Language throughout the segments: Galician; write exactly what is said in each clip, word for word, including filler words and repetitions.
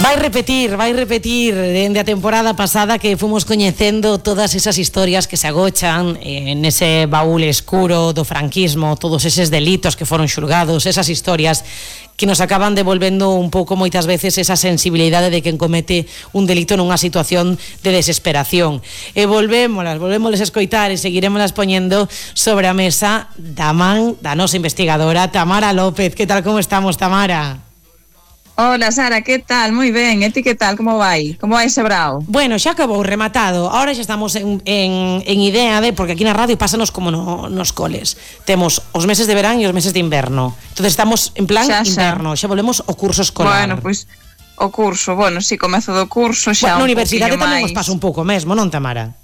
Vai repetir, vai repetir dende a temporada pasada que fomos coñecendo todas esas historias que se agochan en ese baúl escuro do franquismo, todos eses delitos que foron xulgados, esas historias que nos acaban devolvendo un pouco moitas veces esa sensibilidade de quen comete un delito nunha situación de desesperación. E volvémolas, volvémolas a escoitar e seguiremoslas poñendo sobre a mesa da man da nosa investigadora Tamara López. Que tal, como estamos, Tamara? Hola, Sara, ¿qué tal? Muy ben, e ti que tal? Como vai? Como vai ese brao? Bueno, xa acabou, rematado. Ahora xa estamos en, en, en idea de, porque aquí na radio pásanos como no, nos coles. Temos os meses de verán e os meses de inverno. Entonces estamos en plan xa, inverno, xa volvemos o curso escolar. Bueno, pois pues, o curso, bueno, si, sí, comezo do curso xa bueno, un na universidade tamén máis... os pasa un pouco mesmo, non, Tamara?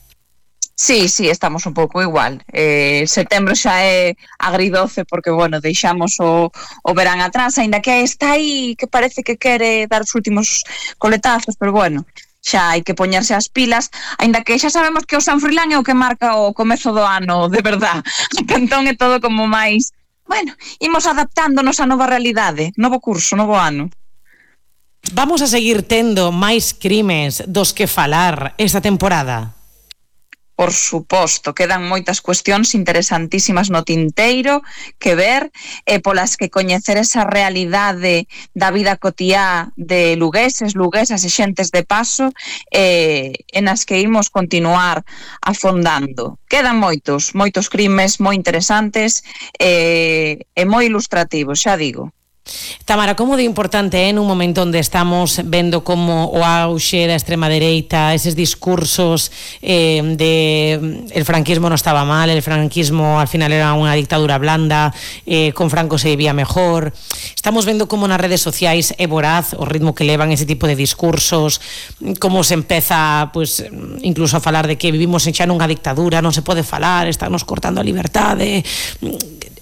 Sí, sí, estamos un pouco igual. Eh, setembro xa é agridoce porque, bueno, deixamos o, o verán atrás, aínda que está aí que parece que quere dar os últimos coletazos, pero bueno, xa hai que poñerse as pilas, aínda que xa sabemos que o San Froilán é o que marca o comezo do ano, de verdad. Entón é todo como máis, bueno, imos adaptándonos á nova realidade, novo curso, novo ano. Vamos a seguir tendo máis crimes dos que falar esta temporada? Por suposto, quedan moitas cuestións interesantísimas no tinteiro que ver e polas que coñecer esa realidade da vida cotiá de lugueses, luguesas e xentes de paso eh, en as que imos continuar afondando. Quedan moitos, moitos crimes moi interesantes eh, e moi ilustrativos, xa digo. Tamara, como de importante é nun momento onde estamos vendo como o auxe da extrema dereita, eses discursos eh, de el franquismo non estaba mal, el franquismo al final era unha dictadura blanda, eh, con Franco se vivía mejor. Estamos vendo como nas redes sociais é voraz o ritmo que levan ese tipo de discursos, como se empeza pues, incluso a falar de que vivimos xa nunha dictadura, non se pode falar, estamos cortando a liberdade.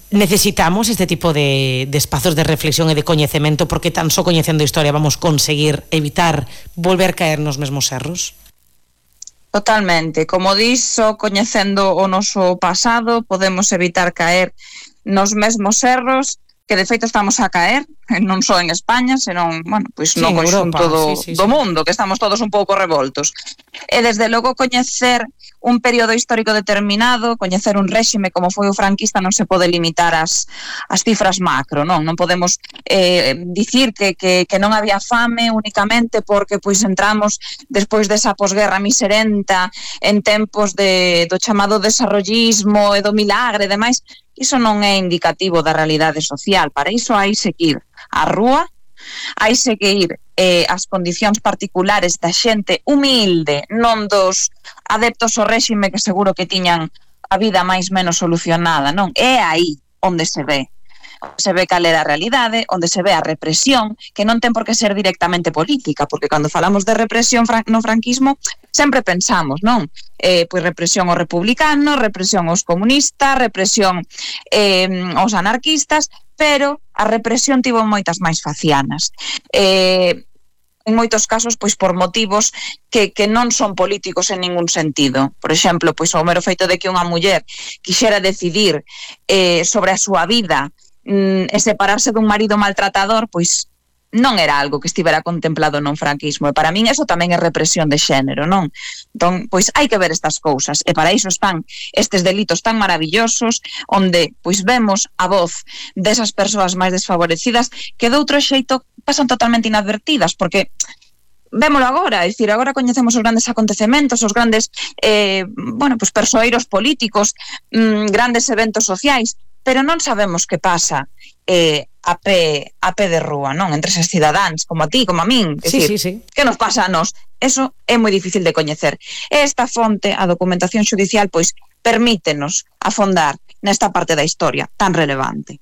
Necesitamos este tipo de, de espazos de reflexión e de coñecemento, porque tan só coñecendo a historia vamos conseguir evitar volver caer nos mesmos erros? Totalmente, como dixo, coñecendo o noso pasado podemos evitar caer nos mesmos erros que de feito estamos a caer, non só en España, senón, bueno, pois pues, sí, no conxunto do, sí, sí, do mundo, que estamos todos un pouco revoltos. E desde logo coñecer un período histórico determinado, coñecer un réxime como foi o franquista, non se pode limitar as, as cifras macro, non? Non podemos eh, dicir que, que, que non había fame únicamente porque pois entramos despois desa posguerra miserenta en tempos de, do chamado desarrollismo e do milagre e demais. Iso non é indicativo da realidade social. Para iso hai que ir á rúa, hai que ir eh, ás condicións particulares da xente humilde, non dos adeptos ao réxime que seguro que tiñan a vida máis menos solucionada, non? É aí onde se ve. Se ve cal era a realidade, onde se ve a represión, que non ten por que ser directamente política, porque cando falamos de represión no franquismo, sempre pensamos, non? Eh, pois represión aos republicanos, represión aos comunistas, represión eh, aos anarquistas, pero a represión tivo moitas máis facianas. Eh, en moitos casos, pois por motivos que, que non son políticos en ningún sentido. Por exemplo, pois o mero feito de que unha muller quixera decidir eh, sobre a súa vida e separarse dun marido maltratador, pois non era algo que estivera contemplado non franquismo, e para min eso tamén é represión de xénero, non? Entón, pois hai que ver estas cousas, e para iso están estes delitos tan maravillosos, onde pois vemos a voz desas persoas máis desfavorecidas que de outro xeito pasan totalmente inadvertidas, porque vémolo agora, é dicir, agora coñecemos os grandes acontecementos, os grandes eh, bueno, pois persoeiros políticos, mmm, grandes eventos sociais, pero non sabemos que pasa eh, a, pé, a pé de rúa, non? Entre eses cidadáns, como a ti, como a min. É sí, dicir, sí, sí. Que nos pasa a nós? Eso é moi difícil de coñecer. Esta fonte, a documentación xudicial, pois, permítenos afondar nesta parte da historia tan relevante.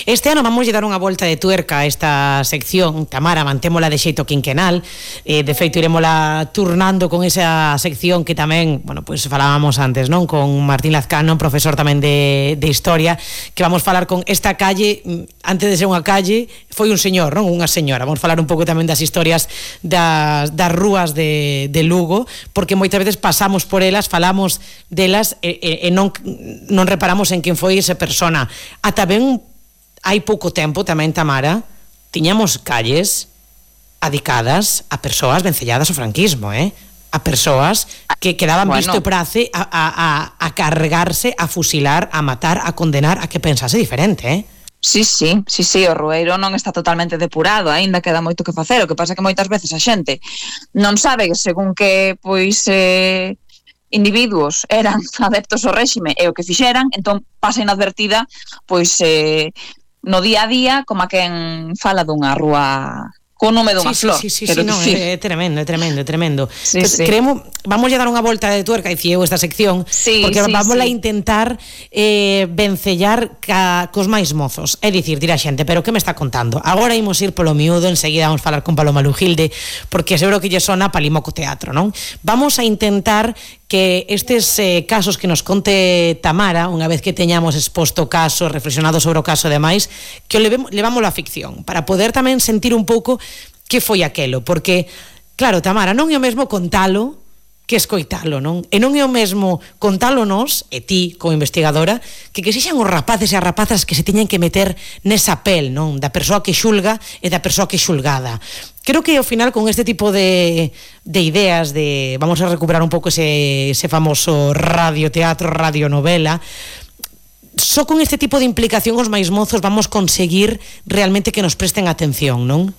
Este ano vamos lle dar unha volta de tuerca a esta sección, Tamara, mantémola de xeito quinquenal, eh, de feito iremosla turnando con esa sección que tamén, bueno, pois pues falábamos antes, non? Con Martín Lazcano, profesor tamén de, de historia, que vamos falar con esta calle, antes de ser unha calle, foi un señor, non? Unha señora. Vamos falar un pouco tamén das historias das, das rúas de, de Lugo, porque moitas veces pasamos por elas, falamos delas e, e, e non, non reparamos en quen foi esa persona. Ata ben hai pouco tempo tamén, Tamara, tiñamos calles adicadas a persoas vencelladas ao franquismo, eh? A persoas que quedaban bueno. visto e prace a, a, a, a cargarse, a fusilar, a matar, a condenar, a que pensase diferente, eh? Sí, sí, sí, sí, o rueiro non está totalmente depurado, aínda queda moito que facer, o que pasa que moitas veces a xente non sabe según que, pois, eh, individuos eran adeptos ao réxime e o que fixeran, entón pasa inadvertida, pois, eh, no día a día, como a quen fala dunha rúa co nome dunha sí, flor. Sí, sí, sí, sí no, é, é tremendo, é tremendo, é tremendo. Sí, Entonces, sí. Creemos, vamos a dar unha volta de tuerca, dicía eu, esta sección, sí, porque sí, vamos sí. a intentar eh, vencellar ca, cos máis mozos. É dicir, dirá xente, pero que me está contando? Agora imos ir polo miúdo, enseguida vamos falar con Paloma Lujilde, porque seguro que lle sona Palimoco Teatro, non? Vamos a intentar que estes eh, casos que nos conte Tamara, unha vez que teñamos exposto o caso, reflexionado sobre o caso e demais, que o levemos, levámoslo á ficción, para poder tamén sentir un pouco que foi aquelo, porque claro, Tamara, non é o mesmo contalo que escoitalo, non? E non é o mesmo contalo nos, e ti como investigadora, que que sexan os rapaces e as rapazas que se teñen que meter nesa pel, non? Da persoa que xulga e da persoa que é xulgada. Creo que ao final con este tipo de, de ideas de, vamos a recuperar un pouco ese, ese famoso radioteatro, radionovela, só con este tipo de implicación os máis mozos vamos conseguir realmente que nos presten atención, non?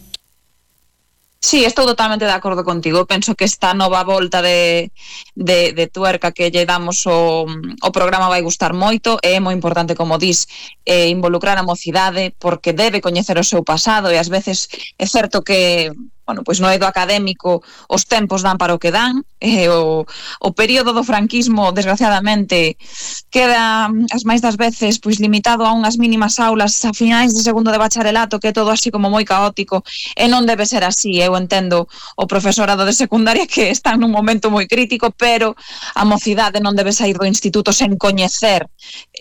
Sí, estou totalmente de acordo contigo. Penso que esta nova volta de, de, de tuerca que lle damos o, o programa vai gustar moito. É moi importante, como dis, eh, involucrar a mocidade, porque debe coñecer o seu pasado e ás veces é certo que, bueno, pois no eido académico os tempos dan para o que dan, e o, o período do franquismo, desgraciadamente, queda as máis das veces pois limitado a unhas mínimas aulas a finais de segundo de bacharelato, que é todo así como moi caótico, e non debe ser así. Eu entendo o profesorado de secundaria que están nun momento moi crítico, pero a mocidade non debe sair do instituto sen coñecer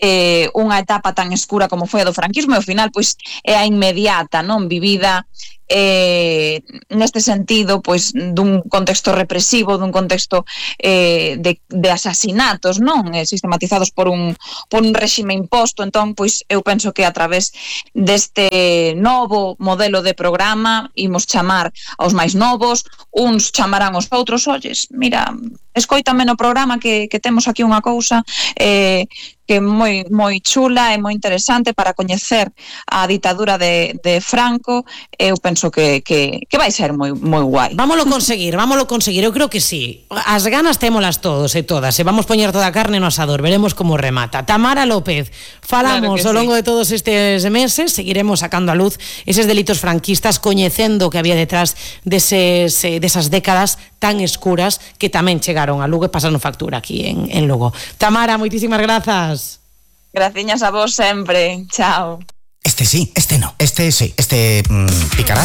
eh, unha etapa tan escura como foi a do franquismo, e ao final pois é a inmediata, non vivida eh, neste sentido pois dun contexto represivo, dun contexto eh, de, de asasinatos, non? Eh, sistematizados por un, por un réxime imposto. Entón, pois eu penso que a través deste novo modelo de programa imos chamar aos máis novos, uns chamarán aos outros, olles, mira, escoítame no programa que, que temos aquí unha cousa eh, que é moi, moi chula e moi interesante para coñecer a ditadura de, de Franco. Eu penso que, que, que vai ser moi, moi guai. Vámoslo conseguir, vámoslo conseguir, eu creo que sí. As ganas témolas todos e todas, e vamos poñer toda a carne no asador, veremos como remata. Tamara López, falamos claro ao longo sí. de todos estes meses, seguiremos sacando a luz eses delitos franquistas, coñecendo o que había detrás deses, desas décadas tan escuras que tamén chegaron a Lugo e pasaron factura aquí en, en Lugo. Tamara, moitísimas grazas. Graciñas a vos sempre. Chao. Este sí, este no, este sí, este mmm, picará.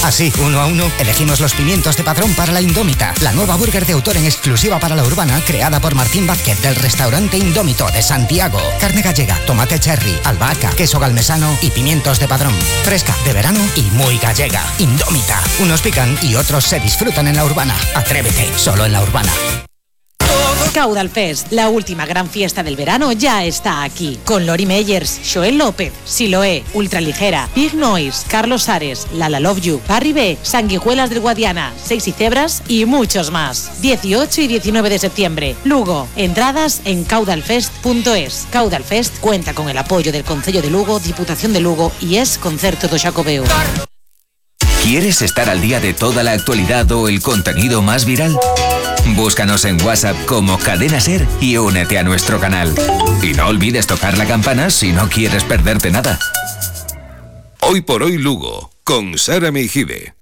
Así, uno a uno, elegimos los pimientos de Padrón para la Indómita, la nueva burger de autor en exclusiva para la urbana, creada por Martín Vázquez del restaurante Indómito de Santiago. Carne gallega, tomate cherry, albahaca, queso galmesano y pimientos de Padrón. Fresca, de verano y muy gallega. Indómita. Unos pican y otros se disfrutan en la urbana. Atrévete, solo en la urbana. Caudal Fest, la última gran fiesta del verano, ya está aquí. Con Lori Meyers, Joel López, Siloé, Ultraligera, Big Noise, Carlos Ares, Lala Love You, Barry B, Sanguijuelas del Guadiana, Sexy Cebras y muchos más. dieciocho y diecinueve de septiembre, Lugo. Entradas en caudalfest punto es. Caudal Fest cuenta con el apoyo del Concello de Lugo, Diputación de Lugo y es Concerto do Xacobeo. ¿Quieres estar al día de toda la actualidad o el contenido más viral? Búscanos en WhatsApp como Cadena Ser y únete a nuestro canal. Y no olvides tocar la campana si no quieres perderte nada. Hoy por hoy Lugo, con Sara Meijide.